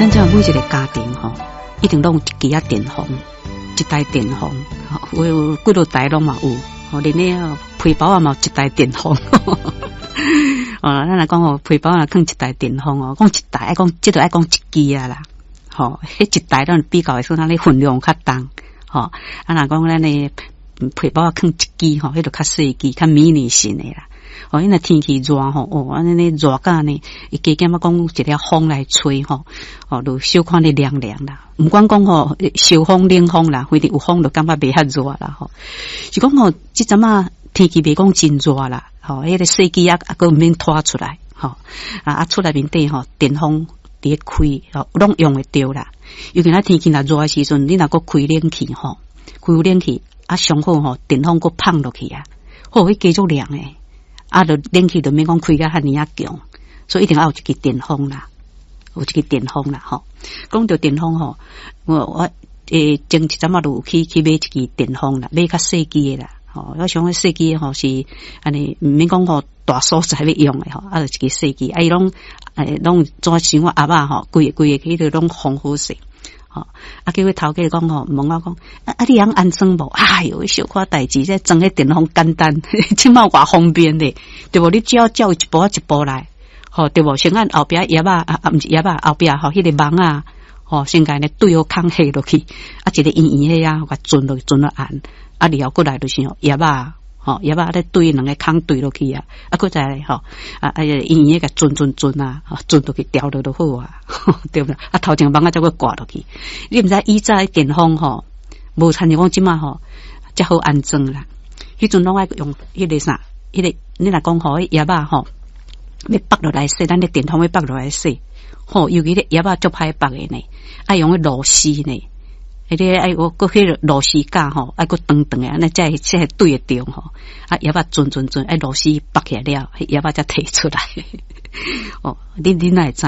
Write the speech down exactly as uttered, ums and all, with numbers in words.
咱這每一个家庭吼，一定攏有一支仔電風，一台電風，有有幾落台攏嘛有，吼，連咧皮包仔嘛有一台電風。哦，咱來講吼，皮包仔囥一台電風哦，講一台愛講，這個愛講一支仔啦，吼，彼一台咱比較會算咱咧分量較重，吼，啊，若講咱的皮包仔囥一支吼，彼就較細支，較迷你型的啦。哦，因為天氣熱吼，哦，按呢熱甲呢，伊加減仔講有一个風來吹吼，哦，就小可咧涼涼啦。毋管講吼，受風冷風啦，反正有風就感覺袂遐熱啦吼。是講吼，這陣仔天氣袂講真熱啦，吼，彼個細機仔猶閣毋免拖出來，吼，啊啊厝內面底吼，電風佇咧開，吼，攏用會著啦。尤其若天氣若熱的時陣，你若閣開冷氣吼，開冷氣啊，上好吼，電風閣放落去啊，好，彼加足涼的。啊，就冷氣就免講開甲遐爾仔強，所以一定愛有一支電風啦，有一支電風啦，吼。講著電風吼，我我欸前一陣仔就有去去買一支電風啦，買較細支的啦，吼。我想講細支的吼是按呢，毋免講吼大所在欲用的吼，啊，就一支細支，啊，伊攏欸攏怎像盒仔吼，規个規个彼個攏封好勢。吼，啊，結果頭家講吼，問我講，啊啊，你曉安裝無？哎喲，小可代誌，這裝彼電風簡單，這馬偌方便咧，對無？你只要照一步一步來，吼，對無？先按後壁葉仔，啊啊，毋是葉仔，後壁吼，彼個網仔，吼，先共呢對好孔下落去，啊，一個圓圓的啊，共鑽落去，鑽落按，啊，然後過來就是吼葉仔，吼，葉仔咧對兩个孔對落去啊，啊，閣再來吼，啊啊，圓圓的共鑽鑽鑽啊，鑽落去調落就好啊，對毋對？啊，頭前網仔才閣掛落去。你毋知以早電風吼，無親像講這馬吼，遮好安裝啦。彼陣攏愛用彼個啥，彼個你若講吼，彼葉仔吼，欲縛落來洗，咱的電風欲縛落來洗，吼，尤其咧葉仔足歹縛的呢，愛用彼螺絲呢。彼个愛閣閣彼个螺絲架吼，愛閣長長的，按呢才會才會對會著吼。啊，葉仔鑽鑽鑽，愛螺絲縛起來了，彼葉仔才提出來。哦，恁恁哪會知？